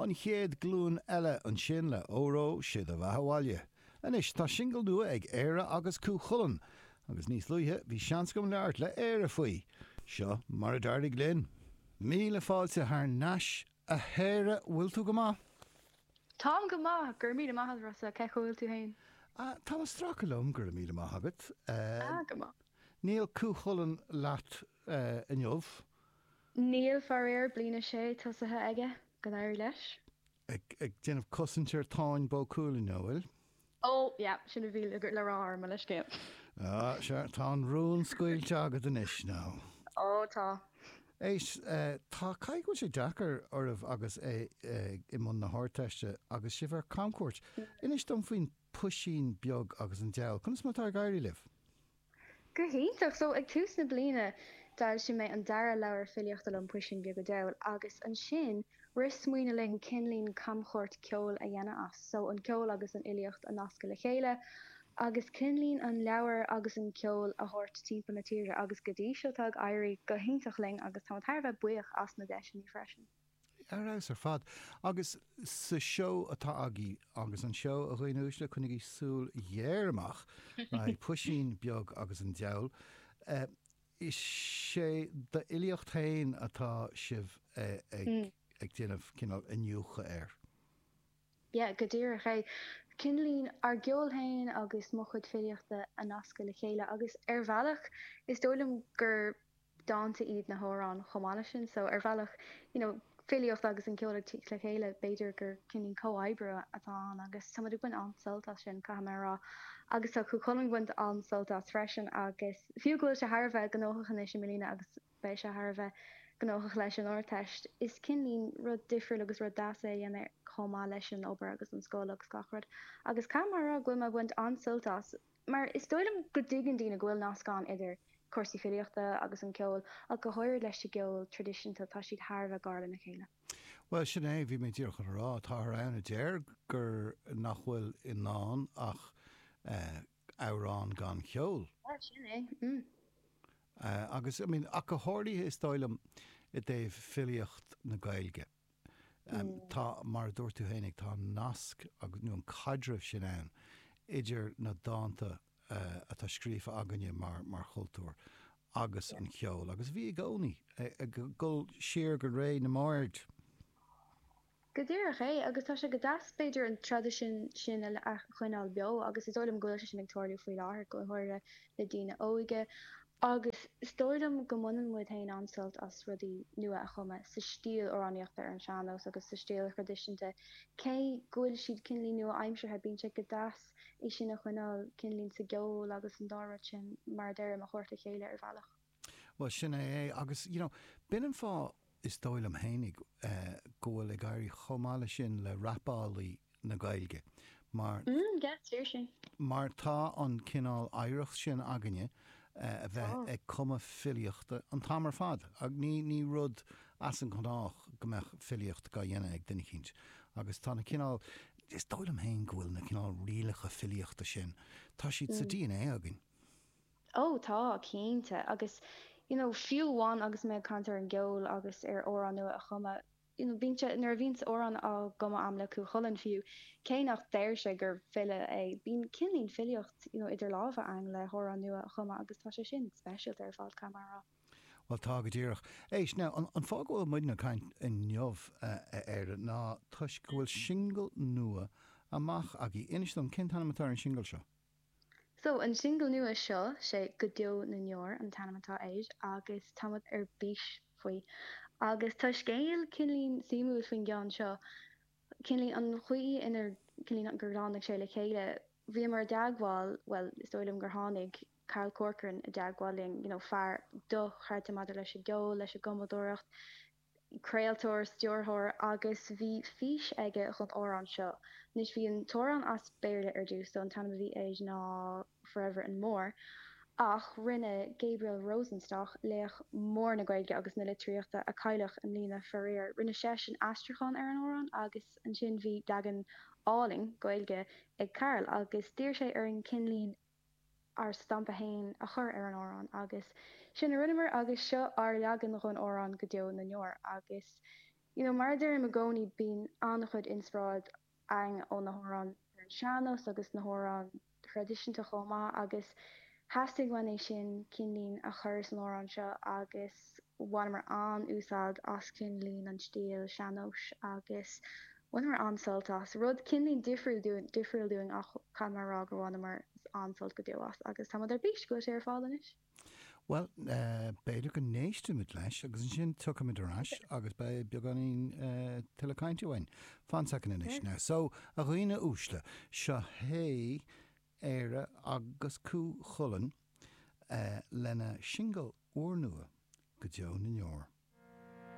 An chéad glúin eile ansin le Óró Sé do Bheatha 'Bhaile. Anois tá singil nua ag Éire agus Cú Chulainn agus níos luaithe bhí seans agam labhairt le Éire faoi. Seo mar a d'éirigh linn. Míle fáilte thar n-ais a hÉire, bhfuil tú go maith? Táim go maith, go raibh míle maith agat Rossa, cén chaoi a bhfuil tú fhéin? Ah, táim ag stracadh liom, go raibh míle maith agat. Ah, go maith. Níl Cú Chulainn leat inniu? Níl, faraor, bliain a sé tosaithe aige, go n-éirí leis. Ag déanamh cosaint ar Táin Bó Cuailgne, an bhfuil? Ó, yeah, sin a bhí le rá orm, mo leithscéal. Ah, sea, tá an rún scaoilte agat anois, now. Ó, tá. Éist, tá, caithfidh go bhfuil sé deacair oraibh agus é i mbun na hArdteiste agus sibh ar camchuairt. Inis dom faoin Puisín Beag agus an Diabhal, conas mar atá ag éirí libh? Go hiontach! So, ag tús na bliana, d'fhoilsigh mé an dara leabhar filíochta liom, Puisín Beag an Diabhail, agus ansin rith smaoineamh linn cineáilín camchuairt ceoil a dhéanamh as. So, an ceol agus an fhilíocht a nascadh le chéile, agus cineáilín an leabhar agus an ceol a thabhairt timpeall na tíre, agus go dtí seo tá ag éirí go hiontach linn agus táimid thar a bheith buíoch as na deiseanna freisin. Ar fheabhas ar fad. Agus sa seó atá agaibh, agus an seó, a dhaoine uaisle, coinnigí súil ghéar amach le haghaidh Puisín Beag agus an Diabhal, is é d'fhilíocht féin atá sibh ag déanamh cineál iniúchadh air. Yeah, go díreach é. Cineáilín ár gceol féin agus mo chuid filíochta a nascadh le chéile agus ar bhealach is dóigh liom gur dánta iad na hamhráin chomh maith leis sin so ar bhealach you know filíocht agus an ceol ag tíocht le chéile b'fhéidir gur cineáilín comhoibriú atá ann agus tá muid ag baint an-sult as sin caithfidh mé a rá agus tá Cú Chulainn ag baint an-sult as freisin agus fiú go bhfuil sé thar a bheith gnóthach anois i mbliana agus beidh sé thar a bheith gnóthach leis an Ardteist. Is cineáilín rud difriúil agus rud deas é a dhéanamh chomh maith leis an obair agus an scoil agus gach rud. Agus caithfidh mé a rá go bhfuil mé ag baint an-sult as mar is dóigh liom go dtuigeann daoine go bhfuil nasc ann idir cúrsaí filíochta agus an ceol ach go háirid leis an gceol traidisiúnta tá siad thar a bheith gar lena chéile. Bhuel, sin é, bhí mé díreach chun a rá, táthar ann a deir gur nach bhfuil i ndán ach amhrán gan cheol. Yeah, sin é, mm. Agus, I mean, ach go háirithe is dóigh liom i dtaobh filíocht na Gaeilge. Tá, mar a dúirt tú fhéinig, tá an nasc agus, nó an caidreamh sin ann idir na dánta atá scríofa againne mar, mar chultúr agus an ceol. Agus bhí i gcónaí, ag dul siar go ré na mbard. Go díreach é, agus tá sé go deas b'fhéidir an traidisiún sin a choinneáil beo agus is dóigh liom go bhfuil sé sin ag tarlú faoi láthair, go háirithe le daoine óige. Agus is dóigh liom go mbaineann muid féin an-sult as rudaí nua a chumadh sa stíl amhránaíochta ar an sean-nós agus sa stíl thraidisiúnta. Cé go bhfuil siad cineáilín nua-aimseartha, bíonn sé go deas é sin a choinneáil cineáilín sa gceol agus an dá rud sin, mar a deirim, a thabhairt le chéile ar bhealach. Bhuel, sin é é. Agus, you know, b'in an fáth, is dóigh liom fhéinig, go bhfuil ag éirí chomh maith leis sin le rapálaí na Gaeilge. Mar. Mm, yeah, is fíor sin. Mar tá an cineál oidhreacht sin againne a bheith ag cumadh filíochta an t-am ar fad. Ní, ní rud as an ngnách go mbeadh filíocht dhá dhéanamh ag duine eicínt. Agus tá na cineál, is dóigh liom féin go bhfuil na cineál rialacha filíochta sin, tá siad sa DNA againn. Ó tá, cinnte. Agus you know fiú amháin agus mé ag caint ar an gceol agus ar amhrán nua a chumadh, you know bíonn sé, nuair a bhíonns amhrán á gcumadh a'm le Cú Chulainn fiú, cé nach deir sé gur file é, bíonn cineáilín filíocht you know idir lámha a'm le hamhrán nua a chumadh agus tá sé sin speisialta ar fad, caithfidh mé a rá. Bhuel tá, go díreach. Éist, now, an, an fáth go bhfuil muidne ag caint inniu, a Éire, ná toisc go bhfuil singil nua amach agaibh. Inis dom, cén t-ainm atá ar an singil seo? So, an singil nua seo, sé Go Deo na nDeor an t-ainm atá air agus tá muid ar bís faoi. Agus tá scéal cineáilín suimiúil faoin gceann seo, cineáilín an chaoi inar, cineáilín gur tháinig sé le chéile. Bhíomar i dteagmháil, bhuel, is dóigh liom gur tháinig Karl Corcoran i dteagmháil linn, you know, fear dochreidte maidir leis an gceol, leis an gcumadóireacht, craoltóir, stiúrthóir agus bhí fís aige dhon amhrán seo. Anois bhí an t-amhrán as Béarla ar dtús so an t-ainm a bhí air ná Forever and More ach rinne Gabriel Rosenstock, laoch mór na Gaeilge agus na litríochta a cailleadh i mbliana faraor, rinne seisean aistriúchán ar an amhrán agus ansin bhí leagan álainn Gaeilge ag Karl agus d'iarr sé orainn cineáilín ár stampa fhéin a chur ar an amhrán agus sin a rinneamar agus seo ár leagan dhon amhrán Go Deo na nDeor agus You know, mar a deirim i gcónaí, bíonn an-chuid inspioráid againn ó na hamhráin ar an sean-nós agus na hamhráin thraidisiúnta chomh maith agus theastaigh uainn é sin cineáilín a chur san amhrán seo agus bhaineamar an-úsáid as cineáilín an stíl sean-nóis agus bhaineamar an-sult as. Rud cineáilín difriúil dúinn, difriúil dúinn ach caithfidh mé a rá gur bhaineamar an-sult go deo as agus tá muid ar bís go bhfuil sé ar fáil anois. Bhuel, b'fhéidir go n-éistfimid leis agus ansin tiocfaimid ar ais agus beidh beagáinín tuilleadh cainte uainn. Fan soicind anois now. So, a dhaoine uaisle, seo hé Éire agus Cú Chulainn lena singil úrnua, Go Deo na nDeor.